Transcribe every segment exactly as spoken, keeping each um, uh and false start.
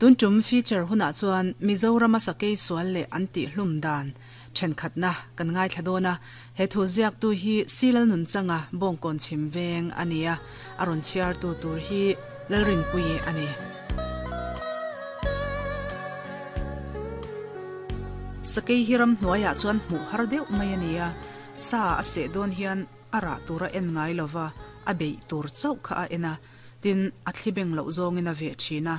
Tun tum feature hunah chuan Mizorama sakei sual leh an tih hlum dan thenkhatna kan ngaithla dawn a, he thu ziaktu hi Silal Nunchanga Bawngkawn chhim veng a ni a, a rawn chhiartu tur hi Lalrinpuii a ni. Sakei hi ram hnuaiah chuan hmuh har deuh mai a ni a, sa a seh dawn hian a rah tura en ngai lova a beih tur chauh kha a en a, tin a thli beng loh zawngin a veh thin a.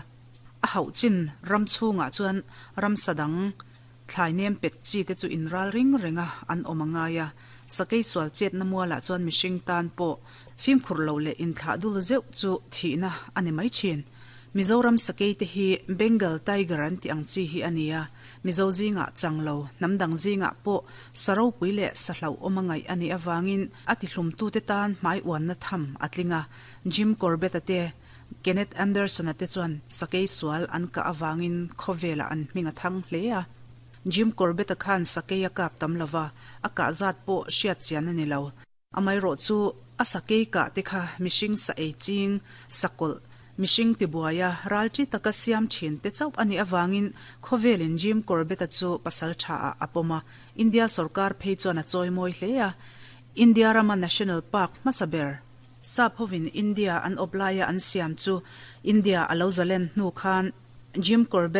A hauh chin ram chhungah chuan ramsa dang thlai nem pet chi te chu inral ring reng a an awm a ngai a, sakei sual chetna mualah chuan mihring tan pawh fimkhur loh leh inthlah dul zeuh chu thihna a ni mai thin. Mizoram sakei te hi Bengal tiger an tih ang chi hi a ni a, Mizo zingah chang lo, hnam dang zingah pawh sa ropui leh sa hlauhawm a ngaih a nih avangin a tihlumtute tan hmai uanna tham a tling a, Jim Corbett-a te, Kenneth Anderson-a te chuan sakei sual an kah avangin khawvelah an hming a thang hle a. Jim Corbett-a khan sakei a kap tam lo va, a kah zat pawh hriat chian a ni lo. Amaherawh chu a sakei kah te kha mihring sa ei ching, sakawlh, mihring tibuaia ral chi taka siam thin te chauh a nih avangin khawvelin Jim Corbett-a chu pasal tha ah a pawm a, India sorkar phei chuan a chawimawi hle a. India rama National Park hmasa ber, Sap hovin India an awp laia an siam chu India a lo zalen hnu khan Jim Corbett